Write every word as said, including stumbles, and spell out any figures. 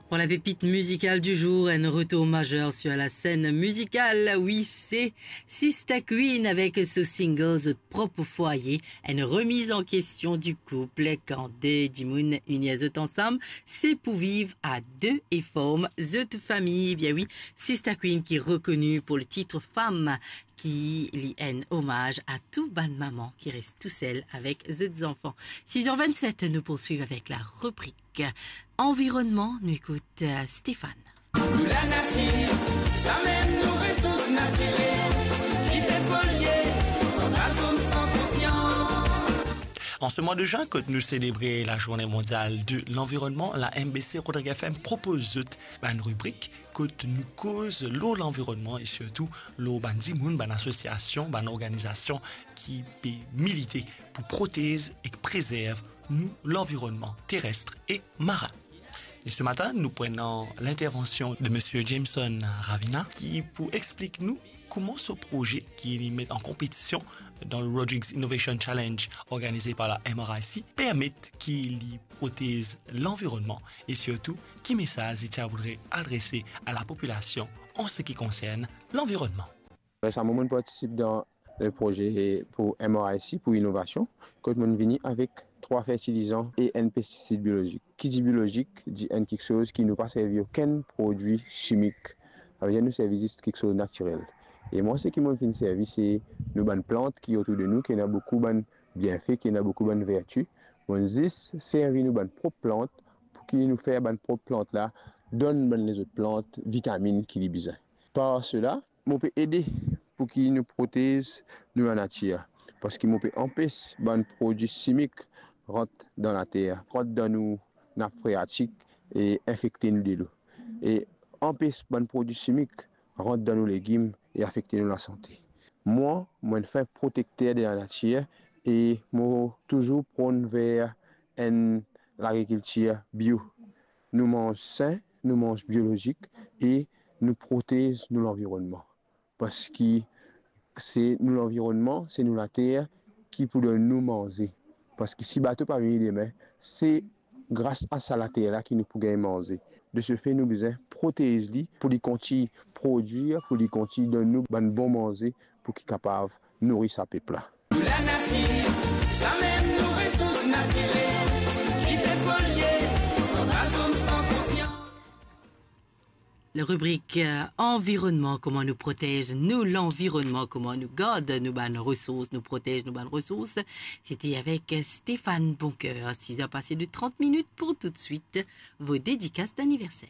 Pour la pépite musicale du jour, un retour majeur sur la scène musicale, wi, se Sista Queen avek so single Zot Prop Fwaye, enn remiz an kestion di koup. Kan de dimoun ini zot ansam, se pou viv a de e form zot fami. Bien wi, Sista Queen ki rekoni pou le tit Fam, ki li enn omaz a tou bann mama ki res tousel avek zot zanfan. Sis er vennset, nou poursuiv avek la ribrik Anvironman, nou ekout, euh, Stéphane. Nou lanatir, samem nou resours natirel, ki pe polye, bann zom san konsians. An se mwa de zin, kot nou selebre la Zourne Mondyal de Lanvironnman, la M B C Rodrigues F M propoz zot bann ribrik kot nou koz lor lanvironnman e sirtou lor bann dimoun, bann asosiasion, bann organizasion ki pe milite pou protez ek prezerv nou lanvironnman teres e marin. E se matin, nou pran lintervansion de Misie Jameson Ravina, ki pou explik nou kouma so proze ki li met an konpetision dan le Rodrigues Innovation Challenge organize par la M R I C permet ki li protez lanvironnman e sirtou ki mesaz li ti a voudre adrese a lapopilasion an se ki konsern lanvironnman. Resaman, mo'nn partisip dan le proze pou M R I C, pou inovasion, kot mo'nn vini avek trwa fertilizan e enn pestisid biolozik. Ki dir biolozik, dir enn kiksoz ki nou pa servi okenn prodwi simik. Savedir nou servi zis kiksoz natirel. E mwa, seki mo'nn finn servi, se nou bann plant ki otour de nou, ki ena boukou bann bienfe, ki ena boukou bann verti. Mo'nn zis servi nou bann prop plant pou ki nou fer bann prop plant la donn bann lezot plant vitaminn ki li bizin. Par sela, mo pe ede pou ki nou protez nou lanatir, parski mo pe anpes bann prodwi simik rant dan later, rant dan nou nap freatik e infekte nou delo, e anpes bann prodwi simik rant dan nou legim e afekte nou lasante. Mwa, mo'nn fer protekter de lanatir e mo touzour pran ver enn lagrikiltir bio. Nou manz sin, nou manz biolozik e nou protez nou lanvironnman. Parski se nou lanvironnman, se nou later ki pou donn nou manze. Parski si bato pa vini demin, se gras a sa later la ki nou pou gagn manze. De se fe, nou bizin protez li pou li kontign prodwir, pou li kontign donn nou bann bon manze pou ki kapav nouri sa pep la. Pou lanatir, samem nou resours natirel, ki pe polye, bann zom san konsians. Le ribrik, euh, Anvironman, kouma nou protez nou lanvironnman, kouma nou gard nou bann resours, nou protez nou bann resours. Sete avek Stéphane Boncoeur. Sis er pase de trant minit. Pou toutswit, vo dedikas daniverser.